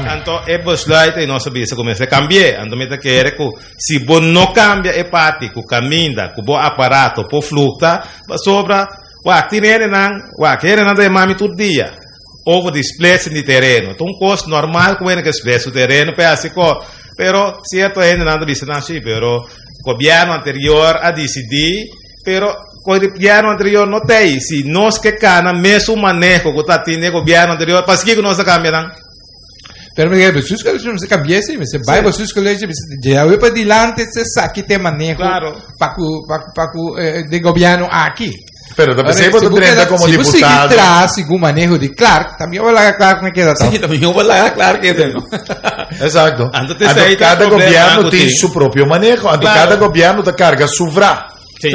Anto e besluit ei nos a bisa ku mester kambi'é. Anto mi ta kere ku si bo no kambia e parti ku kaminda ku bo aparato por flukta, pasobra wak tin hendenan, wak hendenan ta yama mi tur dia over di splitsing di tereno. Ta un kos normal ku hende ke splits su tereno pa e hasi kos. Pero sierto hendenan ta bisa nan si, pero gobièrnu anterior a disidí. Pero gobièrnu anterior no ta ei. Si nos ke kana mesun maneho ku ta tin den gobièrnu anterior, paskiko nos ta kambia nan? Pero mi bestuurscollege mester kambia esei, mester bai bestuurscollege, mester djawe pa dilanti se saki te maneho Claro. pa ku pa ku pa ku eh, de gobièrnu aki. Pero ta pensei bo ta drenta como Si bo sigui diputado. tras segun maneho di Clark, también bo laga Clark me keda Sí, toch. también bo laga Clark keda, no? Exacto. Anto te Anto sei ta cada problema gobierno ku tin tin. su propio maneho. Anto Claro. cada gobierno ta carga su vra. Sí.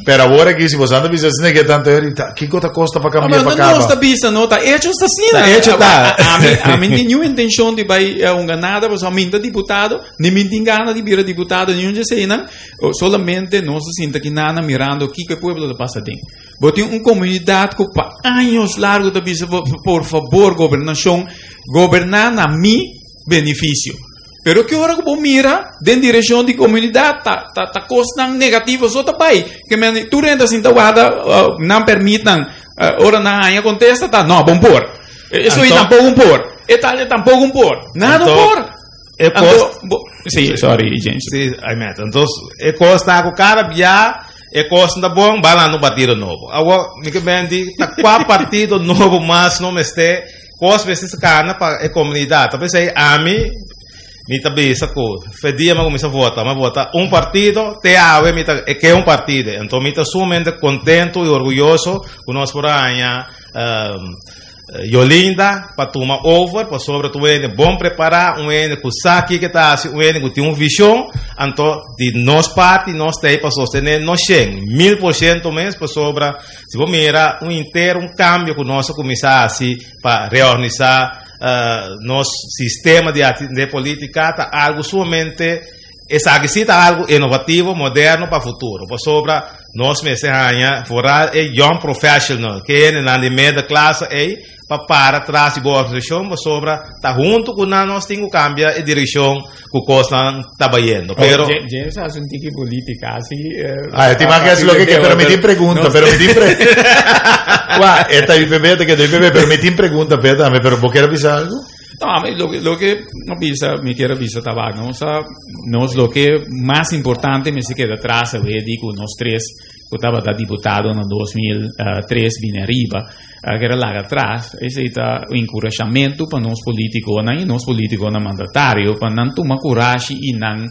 Pero awor aki si bo anda bisa asina ke tanto ahorita, kiko ta kosta pa No, kambia pero pa no nos kaba? ta bisa, no, ta hecho ta asina. Ta hecho ta. A mi tin ningun intencion di bai hunga nada, pasobra mi ta diputado, ni mi tin gana di bira diputado, ni un dje eseinan. Solamente nos ta sinta aki nana mirando kiko e pueblo ta pasa den. Bo tin un comunidad cu pa años largo ta bisa, por favor, gobernacion, goberna na mi beneficio. Pero ki ora ku bo mira den direkshon di komunidat ta ta ta kosnan negativo so ta bai. Ke men tur hende a sinta warda nan pèrmitnan ora nan haña kontesta ta no bon por. Eso i tampoko un por. E tal e tampoko un por. Nada un por. E kos Anto bo si sorry James. Si Ahmed. Anto e kos ta ku kada bia e kos no ta bon ba lanta un partido nobo. Awor mi ke men di ta kua partido nobo mas no mester Kos mester kana pa e komunidat. Ta p'esei ami mi ta bisa ku fe dia mi a kuminsá vota, mi a vota un partido, te awe mi ta e ke un partido. Enton mi ta sumamente kontentu i orguyoso ku nos por a haña Yolinda pa tuma over, pasobra ta un hende bon prepará, un hende ku sa kiko e ta hasi, un hende ku tin un vishon. Anto di nos parti nos ta ei pa sostené nos shen 1000% mes, pasobra Si bo mira un inter un cambio cu nos a cuminsa haci pa reorganisa nos sistema di atende politica ta algo sumamente, esaki si ta algo innovativo, moderno pa futuro. Pasobra nos mester haña vooral e young professional, ke hendenan di middenklasse ey, pa para tras di bo organisashon pasobra ta huntu ku nan nos tin ku kambia e direkshon ku kosnan ta bayendo. Pero James hace un tiki política así. Ah, ti man que lo que pero mi tin pregunta, pero mi tin pre Wa, esta IPB te quedó IPB, pero mi tin pregunta, pe tambe, pero bo quiere avisar algo? No, a mi lo que, lo que no bisa, mi quiero bisa tabaco, no, sa, nos lo que más importante me se queda atrás, a ver, digo, nos tres, ku tabata diputado na 2003 bini ariba, a keda laga atras. Esei ta un enkurashamentu pa nos politikonan i nos politikonan mandatario pa nan tuma kurashi i nan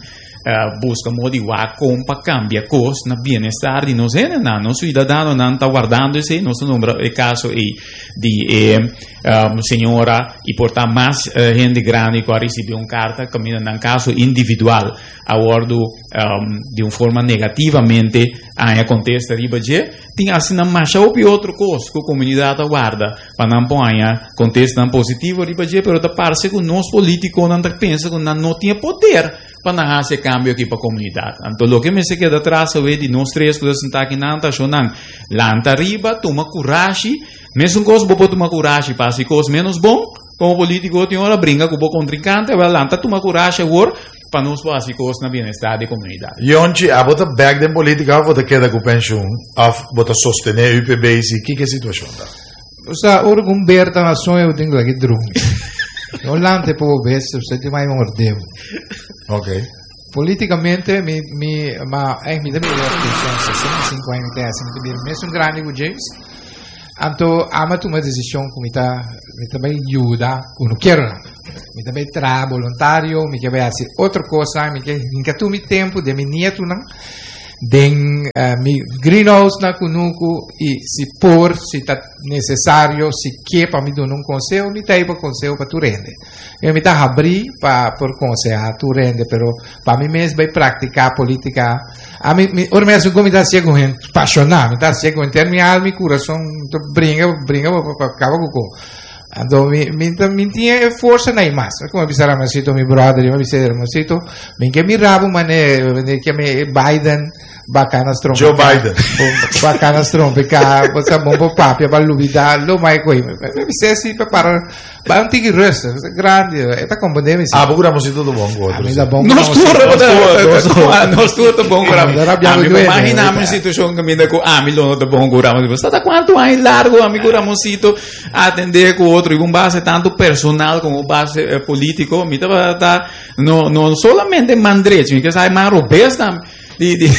buska modo di wak kon pa kambia kos na bienestar di nos hendenan. Nos suidadanonan ta wardando esei. Nos ta nombra e kaso ei di e señora i por ta mas hende grandi ku a risibi un karta kaminda nan kaso individual a wòrdu di un forma negativamente haña kontesta riba dje. Tin asina masha hopi otro kos ku komunidat a warda pa nan por haña kontestanan positivo riba dje, pero ta parse ku nos polítikonan ta pensa ku nan no tin e poder pa nan hasi e kambio aki pa komunidat. Anto loke mester keda tras awe di nos tres ku ta sintá aki nan ta ashonan lanta riba, tuma kurashi. Mesun kos bo por tuma kurashi pa hasi kos ménos bon komo polítiko tin ora bringa ku bo kontrinkante, awel lanta tuma kurashi awor Pa nos por hasi kos na bienestar di komunidat. Yonchi, abo ta bek den politika of bo ta keda ku penshun of bo ta sostené UPB si kiko e situashon ta? Osea, ora ku un ber ta na soño bo tin ku laki drumi. No lanta e pa bo bes, usted tin mai mordé bo. Ok. Politikamente mi mi ma eh mi ta bira penshun 65 aña mi ta hasi mi ta bira mesun grandi ku James. Anto amo a tuma desishon ku mi ta mi ta bai yuda kunukeronan. Mi ta bai traha boluntario, mi ke bai hasi otro kosnan, mi ke hinka tur mi tempu den mi nietunan, den mi greenhouse na kunuku i si por, si ta nesesario, si ke pa mi duna un konseho, mi ta ei pa konseho pa tur hende. Mi ta habrí pa por konsehá tur hende, pero pa mi mes bai praktiká polítika. Ami, mi, ora mi hasi un kos, mi ta hasié ku hende pashoná, mi ta hasié ku henter mi alma i kurason, mi ta bringa, bringa pa, pa kaba ku kos. Anto mi, mi ta, mi tin e forsa na i mas. Komo a bisa Ramonsito, mi brother, mi a bisa Ramonsito, mi ke mira bo mane, mane ke mi Biden bakana strompiká. Joe Biden. Bakana strompiká, bo sa bon bo papia, ba lubida, lo mai koi. Mi bisa si pa para. Ba un tiki rustig, grandi, e ta comprende mi. Ah, bo Ramosito ta bon ku otro. Mi ta bon. Nos tur nos tur ta bon ku Ramosito. Ami mi imagina mi situacion kaminda ku ami lo no ta bon ku Ramosito. Sa ta kuantu aña largo ami ku Ramosito atende ku otro i un base tanto personal como base politico. Mi tabata no no solamente man drechi, mi ke sa man robes tambe. Di, di.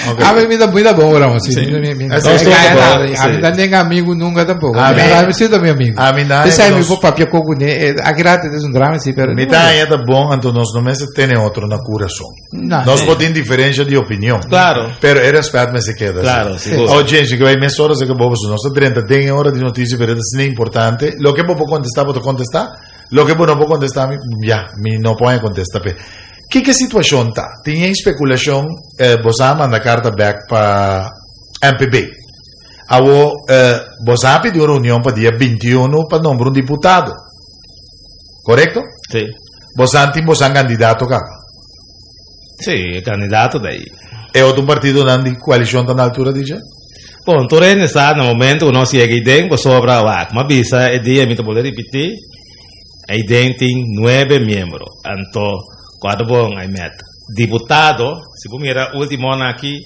Okay. A mi ta mi ta bon ora, sí. Sí. Mi mi Ese es todo mi bon, a mi ta nenga amigo nunca tampoco. A mi- A mi sí ta mi amigo. A mi na- Ese mi nos- po papia coco ne, aki rato es un drama sí, pero Mi ta haña ta bon, anto nos no mester tene otro na curason. No. Nos por tin diferencia di opinion. Claro. Pero e respet mester keda. Claro, sí. sigur. Oh, James, que bai mes horas que bobo, nos ta 30 den hora di noticia, pero es importante. Lo que bo por contesta, bo ta contesta. Lo que bo no por contesta, mi, ya, mi no por contesta. Pe. Kiko e situashon ta? Tin e spekulashon, boso a manda karta bèk pa MPB. Awo, boso a pidi un reunion pa dia 21 pa nombra un diputado. Korekto? Sí. Boso tin boso kandidato kaba. Sí, e kandidato ta ei. E otro partidonan di koalishon ta na altura di dje? Bon, tur hende sa na momento ku nos yega iden, pasobra wak, m'a bisa e dia mi ta bolbe ripití, Eiden tin nuebe miembro. Anto, cuadro bon, ai met. Diputado, si bo mira ultimonan aki,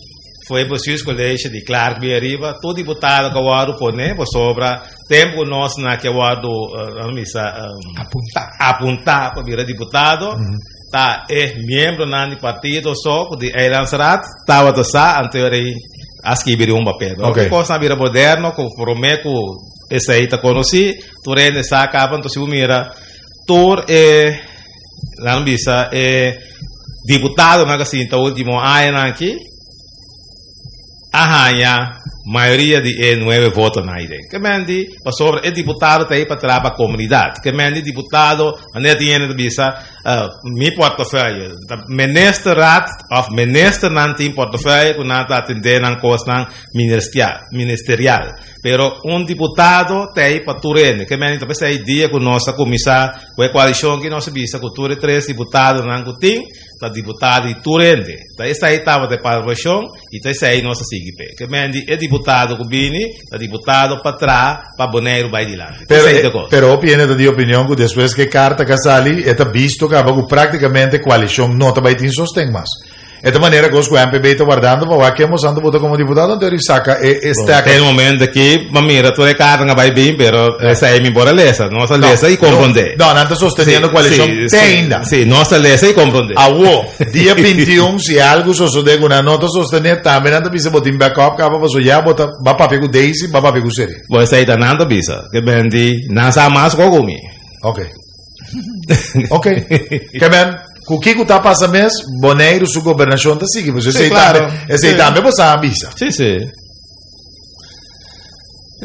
foi bestuurscollege di Clark bin ariba, tur diputado cu a wordo pone, pasobra tempo cu nos na ki a wordo, nan bisa, Apunta. apunta pa bira diputado, ta e miembronan di partido so cu di Eilandsraad tabata sa, anto ey a skibi riba un papel. Pero Ok. cosnan a bira moderno, cu prome cu esey ta conoci, Tur hende sa caba, entonces si bo mira tur e, laat me bisa, e diputadonan cu a sinta ultimo añanan aki, a haña mayoria di e nuebe votonan ahi den. Ke men di, pasobra e diputado ta ahi pa traha pa comunidad. Ke men di diputado, manera tin hende ta bisa, Mi portefeuille, ta ministerraad of ministernan tin portefeuille cu nan ta atende nan cosnan ministerial. Pero un diputado ta ei pa tur hende. Ke meni ta p'esei dia ku nos a kuminsá ku e koalishon ki nos a bisa ku tur e tres diputadonan ku tin ta diputado di tur hende. Ta esei tabata e palabrashon i ta esei nos a sigui p'e. Ke meni e diputado ku bini ta diputado pa traha pa Boneiru bai dilanti. Pero, Esei ta kos. pero hopi hende ta di opinion ku despues ku e karta ka sali e ta bisto kaba ku praktikamente koalishon no ta bai tin sosten mas. E ta manera cos cu MPB ta wardando pa wak ken bo santo bota como diputado anto eri saca e e Te stekker. momento aki pa mira tur e carta nga bai bin, pero esei mi por a lesa. Nos a lesa y comprende. No, nan ta sosteniendo coalicion te ainda. Sí, nos a lesa y comprende. Awo, dia 21, si algo sosode cu nan no ta sostene, tambe nan ta bisa bo tin backup caba paso ya bo ta ba papia cu Daisy, ba papia cu Seri. Bo esei ta nan ta bisa. Ke bendi nan sa mas cu mi. Ok. Ok. Ke men, ku kiko ta pasa mes, Boneiru su gobernashon ta sigui. Pues esei claro. tambe, esei Sí. tambe bo sa bisa. Sí, sí.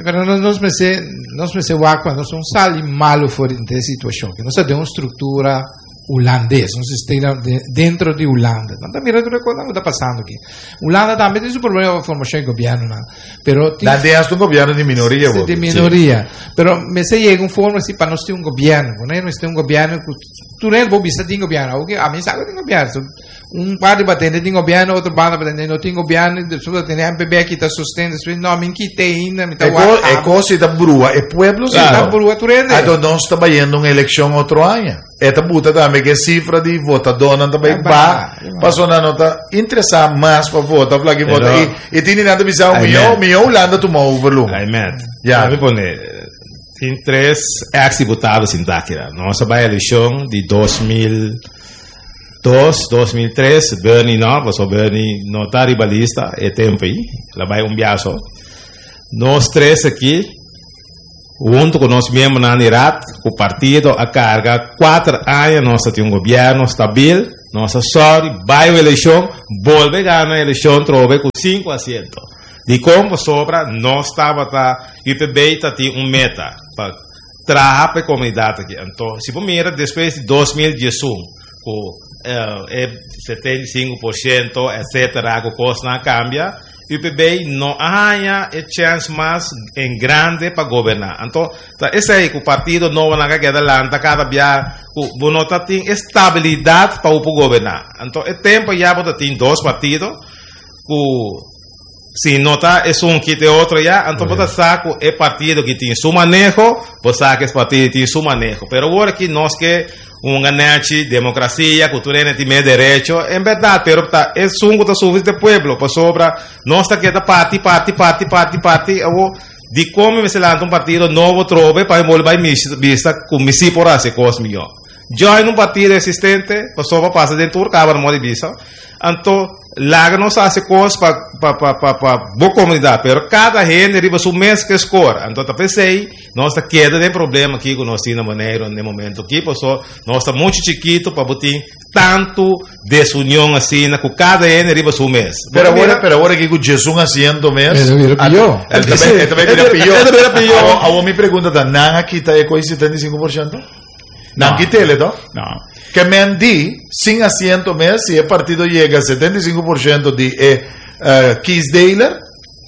Pero nos, nos mester, nos mester wak pa nos no sali malo for di e situacion. Que nos ta den un structura hulandes, un sistema de, dentro di Hulanda. Nan ta mira tur e cosnan cu ta pasando aki. Hulanda tambe tin su problema pa formacion di gobiernonan. Pero tin Dan tin hasta un gobierno di minoria, Sí, bo. di minoria. Pero mester yega un forma así pa nos tin un gobierno. Bo mester un gobierno cu tur hende bo bisa tin gobierno. Awo ke ami sa cu tin gobierno. So, un parti pa tende tin gobierno, otro banda pa tende no tin gobierno. Despues pa tende MPB a kita sosten. Despues no, mi kita ainda, mi ta E wak co, e cos si ta brua e pueblo si. Ta brua tur hende. Anto nos ta bayendo un eleccion otro aña. E ta buta tambe ku e sifra di votadónan ta bai Ta ba, ba, ta ba. pasobra nan no ta interesá mas pa vota of laki vota. Pero- I, i tin di nan ta bisa, Ai, mihó, man. mihó Hulanda tuma over luma. Ai, man. Ja. Laat me pone, tin tres ex-diputado sintá aki la. Nos a bai eleccion di 2002, 2003, Bernie no, pasobra Bernie no ta riba lista e tempo ei. El a bai un biaso. Nos tres aki, Hunto cu nos miembronan di Raad, cu partido a carga cuater aña nos ta tin un gobierno stabil, nos a sorry bay un eleccion, bolbe gana eleccion trobe cu cinco asiento. Dicon? Pasobra nos tabata, UPB ta tin un meta pa traha pa e comunidad aki. Anto, si bo mira despues di 2011 cu e 75% etcetera cu cosnan a cambia, UPB no a haña e chèns mas en grande pa goberná. Anto, ta esei ku partido nobonan a keda lanta kada bia ku bo no ta tin e stabilidat pa bo por goberná. Anto, e tempu ya bo ta tin dos partido ku Si no ta esun kita e otro ya, anto bo ta sa ku e partido ki tin su maneho, bo sa ku es partido tin su maneho. Pero awor aki nos ke hunga nechi demokrasia ku tur hende tin mes derecho, en bèrdat, pero ta esun ku ta sufri ta e pueblo, pasobra nos ta keda parti, parti, parti, parti, parti, awor dikon mi mester lanta un partido nobo trobe pa mi bolbe bai bista ku mi si por hasi e kos mihó? Join un partido existente, pasobra pasa den tur kamer mor di bisa. Anto laga nos hasi kos pa pa pa pa pa bo komunidat, pero kada hende riba su mes ke skor. Anto ta p'esei nos ta keda den problema aki ku nos tin na Boneiru den momento aki, paso nos ta muchu chikitu pa bo tin tantu desunion asina ku kada hende riba su mes. Bo ta Pero awor, mira? pero awor aki ku djesun asiento mes, E ta bira pió. E ta bai- e ta bai bira pió. E ta bira pió. Awor, awor mi pregunta ta, nan a kita e koi 75%? Nan No. kitele, to? No. Ke men di, sin asiento mes, si e partido yega 75% di e eh, kiesdeler,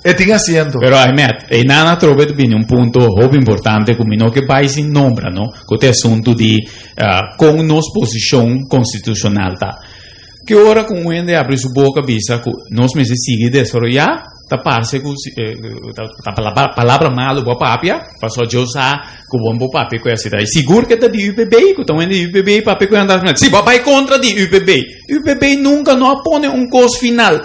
e tin asiento. Pero Ahmed, e nana trobe te bini un punto hopi importante ku mi no ke bai sin nombra, no? Ku te asunto di eh, kon nos posishon konstitushonal ta. Ki ora ku un hende abri su boka bisa ku nos mester sigui desaroyá, ta parse ku ta palabra malu bo a papia, pasobra Dios sa ku bo no por papia ku e asina. I sigur ke ta di UPB, ku ta un hende di UPB papia ku e anda asina. Si, bo a bai kontra di UPB. UPB nunka no a pone un kos final.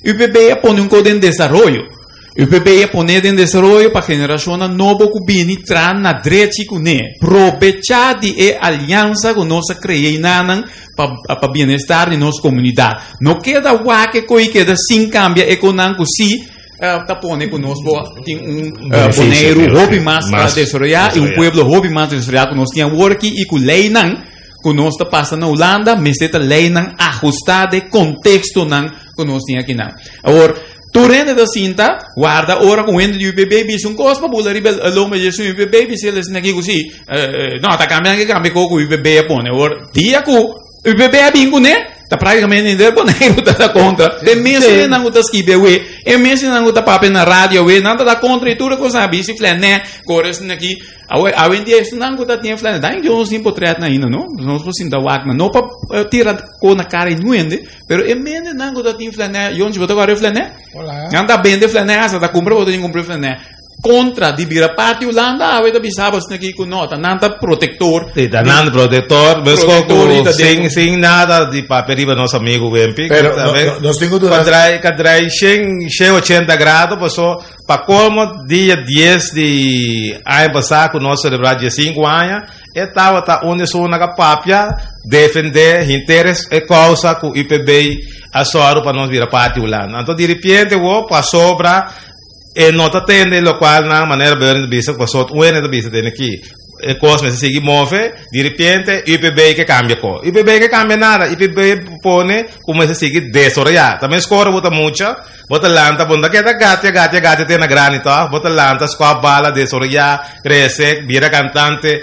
UPB a pone un kos den desaroyo. UPB a pone den desaroyo pa generashonnan nobo ku bini tra na drechi kuné. Probechá di e aliansa ku nos a krea einanan pa pa bienestar di nos komunidat. No keda wak e koi keda sin kambia e konan ku si ta pone ku nos bo tin un Boneiru hopi mas desaroyá i un pueblo hopi mas desaroyá ku nos tin awor aki i ku leinan ku nos ta pasa na Hulanda mester ta leinan ahustá den kontekstonan ku nos tin akinan. Awor, tur hende ta sinta warda ora ku un hende di UPB bisa un kos pa bula riba e lomba di esun UPB bisa el esaki ku si no ta kambia nan ke kambia kos ku UPB a pone. Awor, dia ku UPB a bin kuné ta práktikamente henter Boneiru ta ta kontra. Te mes hendenan ku ta skibi awe, e mes hendenan ku ta papia na radio awe, nan ta ta kontra i tur e kosnan a bisa i flènè kore esaki aki. Awe, awendia esunnan ku ta tin e flènè, dan yo nos tin potretnan ainda no, nos por sinta wak nan, no pa tira kos na kara di niun hende, Pero e mendenan ku ta tin flanè, Yonchi, bo ta kòrda e flanè? Hola. Nan ta bende flanè, hasta ta kumpra bo ta tin kumpra flanè. Kontra di bira parti Hulanda, awe ta bisa bo asina aki ku no, ta nan ta protektor. Sí, ta nan protektor, mesko Protektor ku i ta sin, den- sin nada di papia riba nos amigo Wempi. Pero no- no- nos tin ku duna- Ka drai, ka drai 180 grado, paso pa colmo dia 10 di aña pasá ku nos selebrá 15 aña, E tabata un esun na papia defendé henter e kousa ku UPB a sòru pa nos bira parti Hulanda. Anto diripiente wou pasobra e no ta tende lokual nan manera Bernie ta bisa pasobra un hende ta bisa tende aki e kos mester sigui move diripiente UPB ke kambia ko. UPB ke kambia nada UPB pone ku mester sigui desaroyá. Ta meskor bo ta mucha bo ta lanta bo no ta keda gatia gatia gatia te na grandi tòg bo ta lanta skòp bala desaroyá krese bira kantante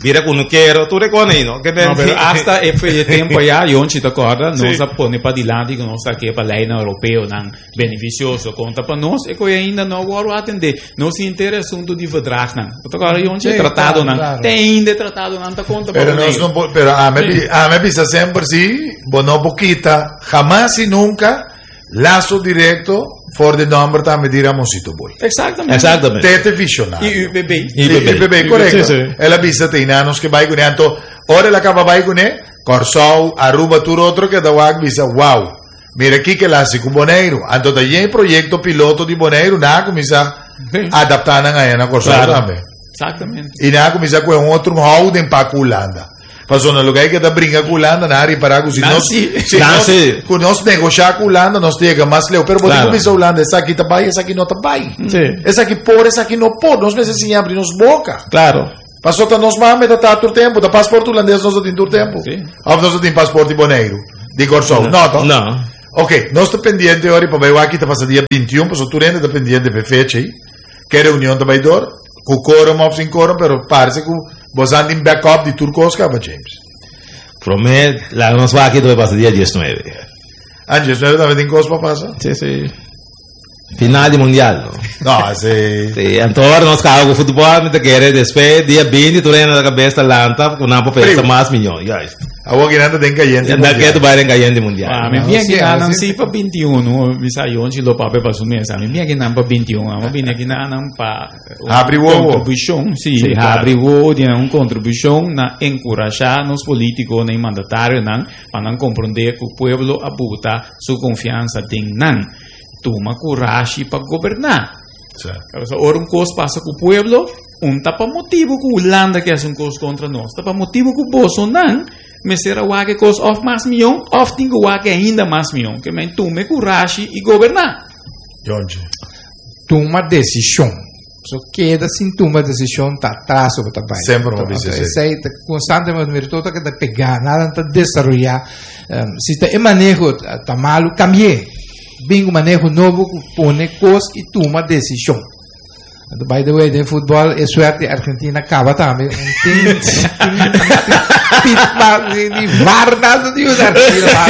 bira kunukero tur e kos ei no ke No, pero hasta e e tempo allá, Yonchi ta acorda, nos a pone pa dilanti ku nos ta ke pa leinan europeonan beneficioso konta pa nos, e koe ainda no wòrdu atendé. Nos henter e asuntu di verdragnan. Bo ta acorda, Yonchi? Sí, Tratadonan. claro, claro. Te ainda e tratadonan ta konta pa Pero nos Boneiru. no por, pero a me, a me bisa semper si, bo no por kita jamás y nunca Lazo directo for di nomber tambe di Ramonsito Boy. Exactamente. Exactamente. Tete visionario. Y UPB. Y UPB, correcto. Sí, sí. El a bisa te inanos que bai kuné. Anto, ora el a kaba bai kuné, Kòrsou, Aruba, tur otro keda wak bisa, wow, mira kiko el a hasi ku Boneiru. Anto ta yen proyekto piloto di Boneiru, nan a kuminsá adaptá nan aya na Kòrsou Claro. tambe. Exactamente. I nan a kuminsá ku e un otro houding pa ku Hulanda. Pasobra na lugar ke ta bringa ku Hulanda, nan a ripará ku si Nan nos, si. si Nan nos, si. ku nos negoshá ku Hulanda, nos ta yega mas leu. Pero bo tin Claro. ku bisa Hulanda, esaki ta bai, esaki no ta bai. Sí. Esaki por, esaki no por. Nos mester siña abri nos boka. Claro. Pasobra ta nos mame ta ta tur tempu. Ta pasport hulandes nos ta tin tur tempu. Sí. Of nos ta tin pasport di Boneiru, di Kòrsou. No, to? No. Ok, nos ta pendiente ora pa bai wak ki ta pasa dia 21, pasobra tur hende ta pendiente pa e fecha ei. Ke reunion ta bai dor, ku quorum of sin quorum, pero parse ku bosan tin backup di tur kos kaba, James. Promé, laga nos wak ki ta bai pasa dia 19. Ah, 19 tambe tin kos pa pasa? Sí, sí. Final di mundial. No, si. Si, anto ora nos kaba ku futbòl, mi ta kere despues dia 20 tur hende na kabes ta lanta ku nan por pensa mas mihó. Juist. Awor ki nan ta den kayente Nan mundial. ke ta bai den kayente mundial. Ah, mi No, bien sí, que ah, nan sí. sí pa 21, mi sa yon si lo pape pa su mesa. Mi bien que nan pa 21, amo bine aquí na nan pa un Habri wowo. contribución, sí, Sí, claro. habri wowo tiene un contribución na encourachar nos políticos na mandatario nan pa nan comprender que o pueblo abuta su confianza den nan. Tuma coraje pa gobernar. Sí. Pero ora un cos pasa cu pueblo, un ta pa motibo cu Hulanda ke haci un cos contra nos. Ta pa motibo cu bosonan mester a wak e cos of mas mion, of tin cu wak ainda mas mion. Ke men tuma e curashi y goberna. Yonchi. Tuma decision. So keda sin tuma decision ta atraso bo ta bai. Semper bo bisa Anto, esei. esei ta constantemente mira todo ke ta pega, nada ta desaroya. Si ta e maneho ta malu, cambi'é. Bin ku maneho nobo ku pone kos i tuma desishon. Anto by the way den futbòl e suerte di Argentina kaba tambe. Un tin tin pit di di var nada di usa Argentina pa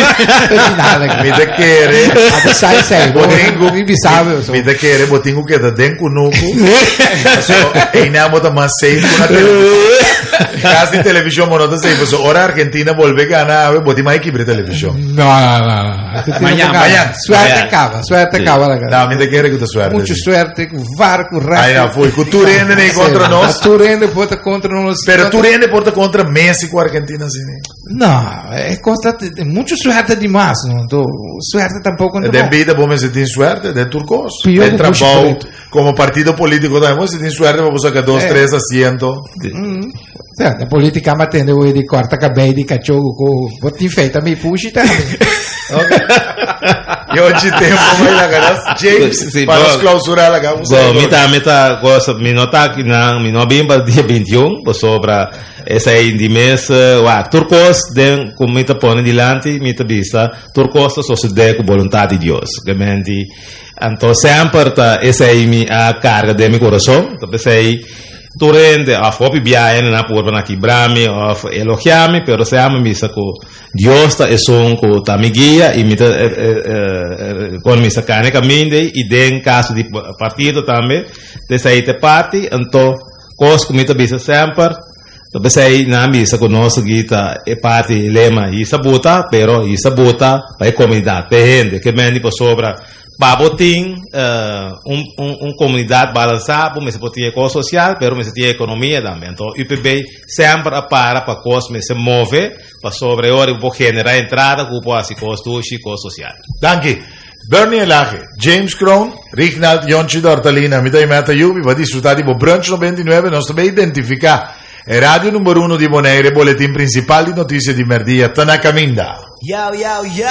e final aki. Mi ta kere. Anto sai sai Bo tin ku mi bisa bo so. Mi ta kere bo tin ku keda den kunuku. Paso einan bo ta mas safe ku na televishon. Kas di televishon bo no ta safe. Paso ora Argentina bolbe gana awe bo tin mas kibra e televishon. No, no, no, no. Mañana, mañana. Suerte caba, suerte caba la No, mi ta kere ku ta suerte. Mucho suerte, ku VAR, ku ref. Ai, no, foi. Ku tur hende nei kontra nos. Tur hende por ta kontra nos. Pero tur hende por ta kontra Messi ku Argentina así, ne? No, e cosa mucho suerte di mas, no? Anto, suerte tampoco no. Den bida bo mester tin suerte, den tur kos. Pio Den ku pushi trabou, preto. komo partido polítiko tambe bo mester tin suerte pa bo saka dos, tres asiento. Sea, den politica mi a tende hoy di corta cabey di cacho cu bo tin fe ta mi pushi tambe. Yo chi tempo mai laga nos James Sí, pa nos bo- clausura laga un Bo, mi ta, mi ta gosa, mi no ta aki nan, mi no bin pa dia 21, pasobra esei di mes, wak, tur kos den ku mi ta pone dilanti, mi ta bisa, tur kos ta sosode ku boluntat di Dios. Gemeente, anto semper ta esei mi a karga den mi kurason, ta p'esei Tur hende of hopi bia hende na purba na kibra mi of elogia mi, pero sea mi bisa ku Dios ta esun ku ta mi guia i mi ta kon mi sa kane kaminda ei i den kaso di partido tambe ta esei ta e parti. Anto kos ku mi ta bisa semper ta p'esei nan bisa ku nos sigui ta e parti lema hisa buta pero hisa buta pa e komunidat pa e hende ke men di pasobra. Pa bo tin un un comunidad balansa bo mester por tin e cos social pero mester tin e economia tambe. Anto UPB semper a para pa cos mester move pasobra e ora bo por genera entrada cu bo por haci cos dushi, cos social. Danki. Bernie Elhage, James Kroon, Rignald Yonchi Dortalina, mi ta Imeta Yubi, bo a disfruta di bo Brunch 99, nos ta bay identifica e radio number uno di Bonaire, e boletin principal di noticia di merdia ta na caminda. Yow, yow, yow!